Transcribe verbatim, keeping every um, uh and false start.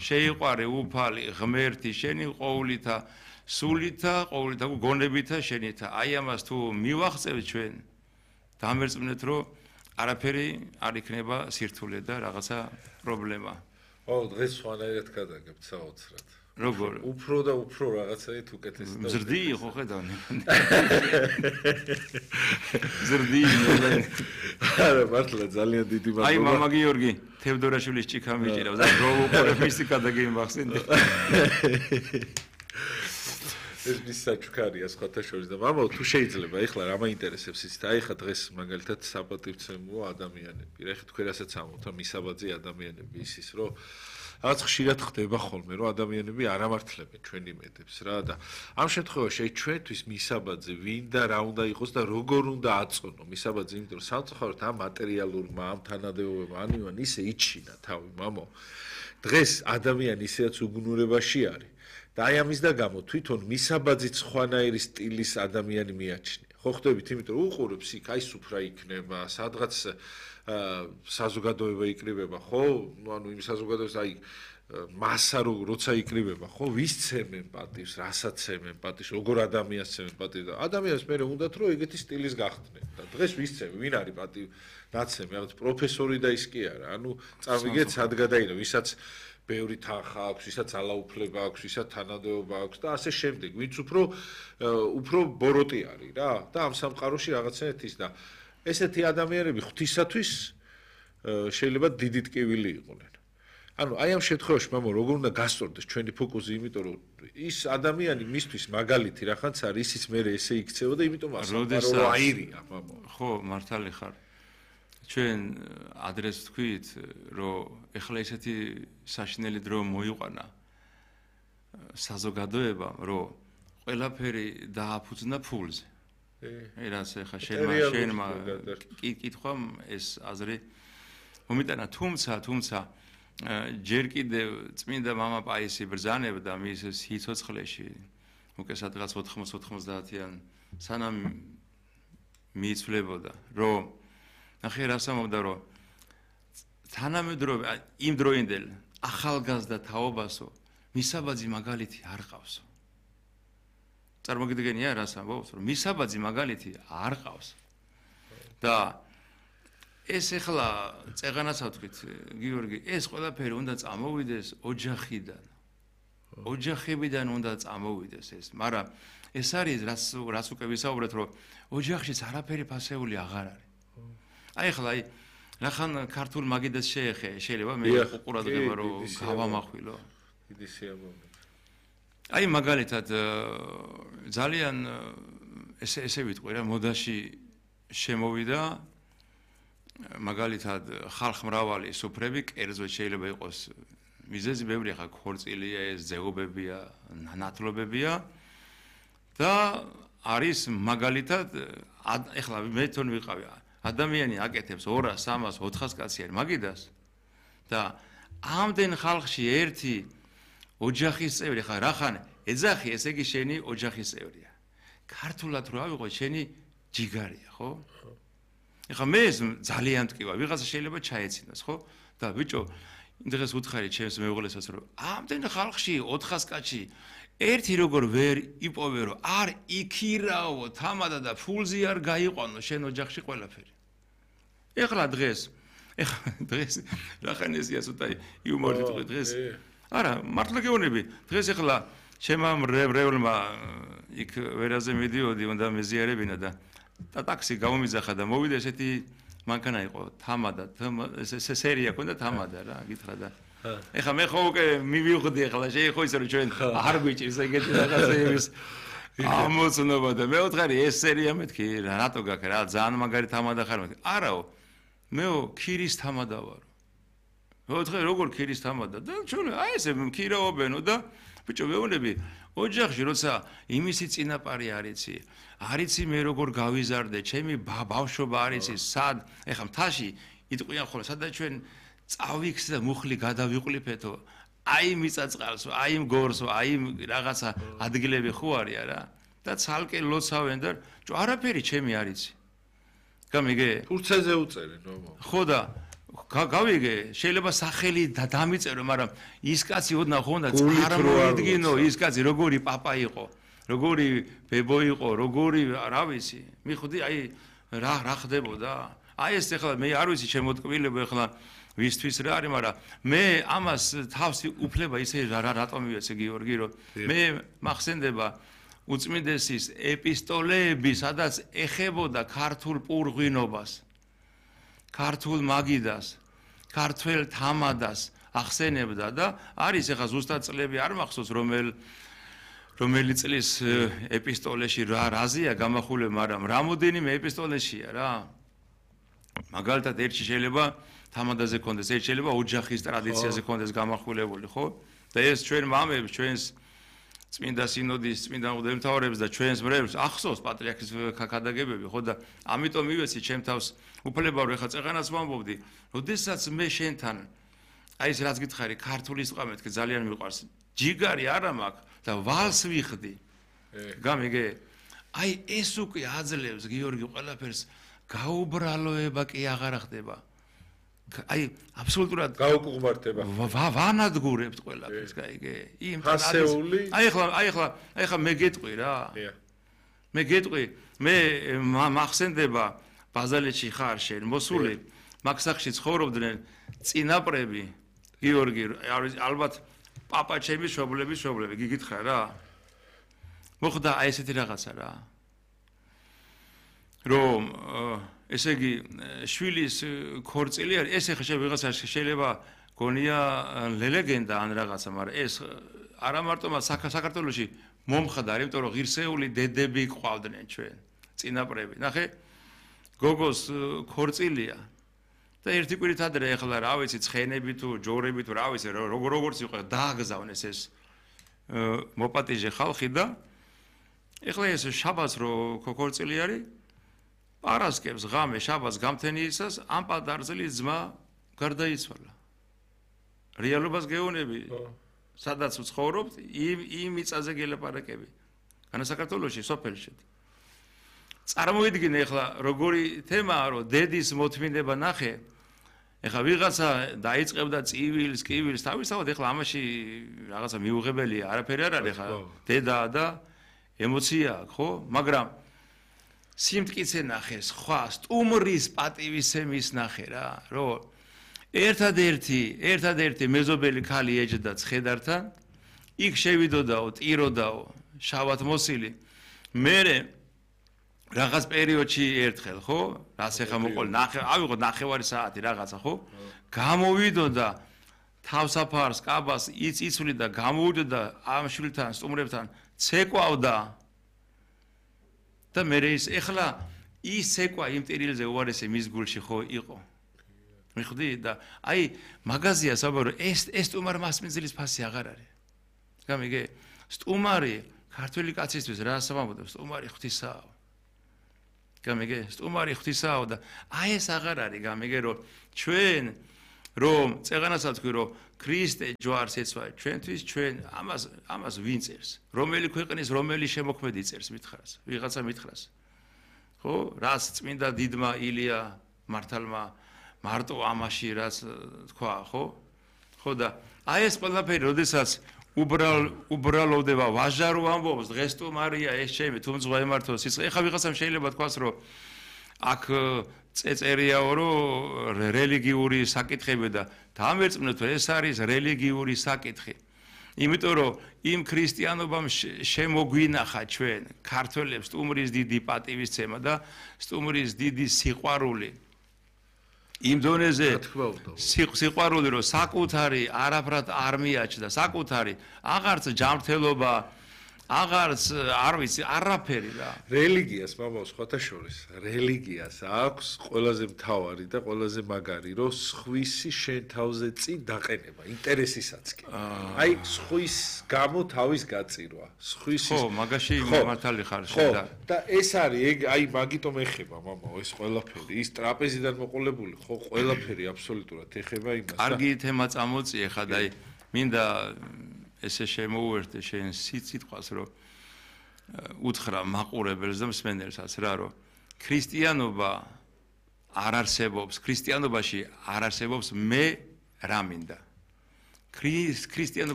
შეიყვარე უფალი ღმერთი შენი ყოვლითა სულითა ყოვლითა გონებითა შენითა აი ამას თუ მივახცევთ ჩვენ დამერწმუნეთ რომ არაფერი არ იქნება სირთულე და რაღაცა პრობლემა. ო დღეს სხვანაირად გადაგებთ საოცრად. როგორ? უფრო და უფრო რაღაცაით უკეთესი და მზრდი ხო ხედავ? მზრდი არა მართლა ძალიან დიდი მადლობა. აი მამა გიორგი თევდორაშვილის ჭიქა მიჭირავს და რო უყურებ მისი გადაგიმახსენდი. ეს მის საჩუქარია სხვათა შორის და მამა თუ შეიძლება ეხლა რა მაინტერესებს ის და ეხლა დღეს მაგალითად საპატივცემულო ადამიანები რა ეხლა თქვენ რასაც ამბობთ მისაბაძი ადამიანები ისის რომ რაღაც ხშირად ხდება ხოლმე რომ ადამიანები არ ამართლებენ ჩვენ იმედებს რა და ამ შემთხვევაში ჩვენთვის მისაბაძე ვინ და რა უნდა იყოს და როგორ უნდა აწონო მისაბაძე იმიტომ რომ სამწუხაროდ ამ მატერიალურმა ამ თანადევობებმა ანივან ისე იჩინა თავი მამო დღეს ადამიანი ისეაც უგუნურებაში არის და აი ამის და გამო თვითონ მისაბაძი სხვანაირი სტილის ადამიანი მიაჩნია. ხო ხდებით, იმიტომ რომ უყურებს იქ აი სუფრა იქნება, სადღაც საზოგადოება იკრიბება, ხო? ანუ იმ საზოგადოებას აი მასა როცა იკრიბება, ხო? ვის ცემენ პატივს, რასაც ცემენ პატივს, როგორ ადამიანს ცემენ პატივს და ადამიანს მე უნდათ რომ ეგეთი სტილის გახდნენ. და დღეს ვის ცემენ, ვინ არის პატივ ნაცემი, რაღაც პროფესორი და ის კი არა. ანუ წავიგეთ სად გადაინა, ვისაც ბევრი თანხა აქვს, ვისაც ალაუფლება აქვს, ვისაც თანადეობა აქვს და ასე შემდეგ. ვინც უფრო უფრო ბოროტი არის რა და ამ სამყაროში რაღაცნაირად ის და ესეთი ადამიანები ღვთისათვის შეიძლება დიდი ტკივილი იყვნენ. ანუ აი ამ შემთხვევაში მამო როგორ უნდა გასწორდეს ჩვენი ფოკუსი, იმიტომ რომ ის ადამიანი მისთვის მაგალითი რახანც არის, ისიც მე ესე იქცევა და იმიტომ ასამყარო აირია მამო. ხო, მართალი ხარ. ჩვენ ადრეს თქვით, რომ ეხლა ესეთი საშინელი დრო მოიყვანა საზოგადოებამ, რომ ყველაფერი დააფუძნა ფულზე. აი რაც ეხლა შენმა შენმა კითხვამ ეს აზრი მომიტანა, თუმცა თუმცა ჯერ კიდევ წმინდა მამა პაისი ბრძანებდა მის სიცოცხლეში, უკვე სადღაც ოთხმოცდაათი ოცდაათიან სანამ მიიცვლებოდა, რომ ნახე რას ამბობდა რომ თანამედროვე იმ დროინდელ ახალგაზრდა თაობასო მისაბაძი მაგალითი არ ყავსო. წარმოგიდგენია რას ამბობს რომ მისაბაძი მაგალითი არ ყავს. და ეს ეხლა წეღანასაც ვთქვით გიორგი ეს ყველაფერი უნდა წამოვიდეს ოჯახიდან. ოჯახებიდან უნდა წამოვიდეს ეს, მაგრამ ეს არის რაც რაც უკვე ვისაუბრეთ რომ ოჯახშიც არაფერი ფასეული აღარ არის. აი ახლა აი რახან ქართულ მაგიდას შეეხე შეიძლება მე უყურადღება რომ გავამახვილო დიდი სიამოვნებით აი მაგალითად ძალიან ესე ესე ვიტყვი რა მოდაში შემოვიდა მაგალითად ხალხმრავალი სუფრები კერძო შეიძლება იყოს მიზეზი ბევრი ხა ქორწილია ეს ზეობებია ნათლობებია და არის მაგალითად ახლა მე თვითონ ვიყავი ადამიანი აკეთებს ორას, სამას, ოთხას კაცი არის მაგიდას და ამდენ ხალხში ერთი ოჯახის წევრი ხარ, რახან ეძახი, ესე იგი შენი ოჯახის წევრია. ქართულად რო ავიღო, შენი ჯიგარია, ხო? ეხლა მე ეს ძალიან მტკივა, ვიღაცა შეიძლება ჩაეცინოს, ხო? და ბიჭო, დღეს უთხარი ჩემს მეუღლესაც რომ ამდენ ხალხში ოთხას კაცი ერთი როგორ ვერ იპოვე რომ არ იქირაო თამადა და ფულზე არ გაიყვანო შენ ოჯახში ყველაფერი. ეხლა დღეს ეხლა დღეს რახან ესია ცოტა იუმორი თქვი დღეს არა მართლა გეუბნები დღეს ეხლა ჩემმა რევლმა იქ ვერაზე მიდიოდი უნდა მეზიარებინა და და ტაქსი გამომიძახა და მოვიდა ესეთი მანქანა იყო თამადა ეს სერია ქონდა თამადა რა გითხრა და ეხლა მე ხო უკვე მივიღდი ეხლა შეიძლება ისე რომ ჩვენ არ გვიჭირს ეგეთი რაღაცეების ამოცნობა და მე ვთხარი ეს სერია მეთქი რატო გაქ რა ძალიან მაგარი თამადა ხარ მეთქი არაო მეო ქირის თამადა ვარო მე ვთხარი როგორ ქირის თამადა და ჩვენ აი ესე ქირაობენო და ბიჭო მეუბნები ოჯახში როცა იმისი წინაპარი არიცი არიცი მე როგორ გავიზარდე ჩემი ბავშვობა არიცი სად ეხლა მთაში იტყვიან ხოლმე სადაც ჩვენ წავიქს და მუხლი გადავიყლიფეთო აი მიწაწყალსო აი მგორსო აი რაღაცა ადგილები ხო არია რა და ცალკე ლოცავენ და არაფერი ჩემი არიცი გამიგე ფურცეზე უწერენ ნომო ხო და გავიგე, შეიძლება სახელი დამიწერო, მაგრამ ის კაცი ოდნა ხონდა წარმოიდგინო, ის კაცი როგორი პაპა იყო, როგორი ბებო იყო, როგორი რა ვიცი, მიხვდი, აი რა რა ხდებოდა? აი ეს ახლა მე არ ვიცი შემოტკბილება ახლა ვისთვის რა არის, მაგრამ მე ამას თავსი უფლება ისე რა რატომ მივეცე გიორგი, რომ მე მახსენდება უწმინდესის ეპისტოლეები, სადაც ეხებოდა ქართულ პურღვინობას, ქართულ მაგიდას, ქართველ თამადას ახსენებდა და არის ახლა ზუსტად წლები არ მახსოვს რომელ რომელი წლის ეპისტოლეში რა რაზეა გამახულე, მაგრამ რამოდენიმე ეპისტოლეშია რა. მაგალითად ერთში შეიძლება თამადაზე კონდეს, ერთ შეიძლება ოჯახის ტრადიციაზე კონდეს გამახვილებული, ხო? და ეს ჩვენ მამებს, ჩვენს წმინდა სინოდის, წმინდა მღვდელმთავრებს და ჩვენს მრევლს ახსოვს პატრიარქის ქადაგებები, ხო და ამიტომ მივეცი ჩემ თავს უფლება რომ ეხა წეღანას ვამბობდი, როდესაც მე შენთან აი ეს რაც გითხარი, ქართული სიტყვა მეთქე ძალიან მიყვარს. ჯიგარი არა მაქვს და ვალს ვიხდი. გამიგე? აი ეს უკვე აძლევს გიორგი ყველაფერს გაუბრალოება კი აღარ ხდება. აი აბსოლუტურად გაუკუღმართება. ვანადგურებთ ყველაფერს, გაიგე? იმ ფასეული. აი ახლა, აი ახლა, აი ახლა მე გეტყვი რა. მე გეტყვი, მე მახსენდება ბაზალეთში ხარ შენ, მოსული, მაგ სახში ცხოვრობდნენ წინაპრები, გიორგი, ალბათ პაპა ჩემი შობლების შობლები, გიგითხარ რა. მოხდა აი ესეთი რაღაცა რა. რომ ესე იგი შვილის ქორწილი არის, ეს ახლა შეიძლება შეიძლება გონია ლეგენდა ან რაღაცა, მაგრამ ეს არა მარტო საქართველოში მომხდარ, იმიტომ რომ ღირსეული დედები ყავდნენ ჩვენ, წინაპრები. ნახე, გოგოს ქორწილია და ერთი კვირით ადრე ახლა რა ვიცი, ცხენები თუ ჯორები თუ რა ვიცი, როგორც იყო დააგზავნეს ეს მოპატიჟე ხალხი და ახლა ეს შაბათს რო ქორწილი არის პარასკევს ღამე შაბათს გამთენიისას ამ პატარძლის ძმა გარდაიცვალა. რეალობას გეუბნები, სადაც ვცხოვრობთ, იმ იმ მიწაზე გელაპარაკები. განა საქართველოში, სოფელში. წარმოვიდგინე ახლა როგორი თემაა, რომ დედის მოთმინება ნახე. ახლა ვიღაცა დაიწყებდა წივილს, კივილს, თავისთავად ახლა ამაში რაღაცა მიუღებელია, არაფერი არ არის ახლა დედა და ემოცია აქვს, ხო? მაგრამ სიმტკიცე ნახე, სხვა სტუმრის პატივისცემის ნახე რა, რომ ერთადერთი, ერთადერთი მეზობელი ქალი ეჯდა ცხედართან, იქ შევიდოდაო, ტიროდაო, შავად მოსილი. მერე რაღაც პერიოდში ერთხელ, ხო? რას ეხა მოყოლ, ნახე, ავიღოთ ნახევარი საათი რაღაცა, ხო? გამოვიდოდა თავსაფარს, კაბას იწიწვლიდა, გამოვიდოდა ამ შვილთან, სტუმრებთან, ცეკვავდა. და მე ის ეხლა ის ცეკვა იმ ტირილზე უარესი მის გულში ხო იყო. მიხვდი და აი მაგაზია საბარო ეს ეს სტუმარ მასპინძლის ფასი აღარ არის. გამიგე? სტუმარი ქართველი კაცისთვის რა სამბობ სტუმარი ღვთისაა. გამიგე? სტუმარი ღვთისაა და აი ეს აღარ არის, გამიგე რომ ჩვენ რომ წეღანასაც თქვი რომ ქრისტე ჯვარს ეცვა ჩვენთვის, ჩვენ ამას ამას ვინ წერს? რომელი ქვეყნის რომელი შემოქმედი წერს მითხრას? ვიღაცა მითხრას. ხო? რას წმინდა დიდმა ილია მართალმა მარტო ამაში რაც თქვა, ხო? ხო და აი ეს ყველაფერი, როდესაც უბრალ უბრალოვდება ვაჟარო ამბობს, დღეს თუ მარია ეს ჩემი თუმცა ემართო სიცხე. ეხა ვიღაცამ შეიძლება თქვას რომ აქ წეწერიაო რომ რელიგიური საკითხები და დამერწმუნოთ რომ ეს არის რელიგიური საკითხი. იმიტომ რომ იმ ქრისტიანობამ შემოგვინახა ჩვენ ქართველებს სტუმრის დიდი პატივისცემა და სტუმრის დიდი სიყვარული. იმ დონეზე სიყვარული რომ საკუთარი არაფრად არ მიაჩნდა, საკუთარი აღარც ჯანმრთელობა აღარც არ ვიცი არაფერი რა. რელიგიას მამაო სხვათა შორის რელიგიას აქვს ყველაზე მთავარი და ყველაზე მაგარი რომ სხვისი შენ თავზე წინ დაყენება ინტერესისაც კი. აი სხვის გამო თავის გაწირვა, სხვისი ხო, მაგაში მართალი ხარ შენ და და ეს არის ეგ აი მაგიტომ ეხება მამაო ეს ყველაფერი, ის ტრაპეზიდან მოყოლებული ხო ყველაფერი აბსოლუტურად ეხება იმას. კარგი თემა წამოწიე ხა და აი მინდა ესე შემოუერთე შენ სიტყვას რომ უთხრა მაყურებელს და მსმენელსაც რა რომ ქრისტიანობა არ არსებობს ქრისტიანობაში არ არსებობს მე რა მინდა ქრისტიანობა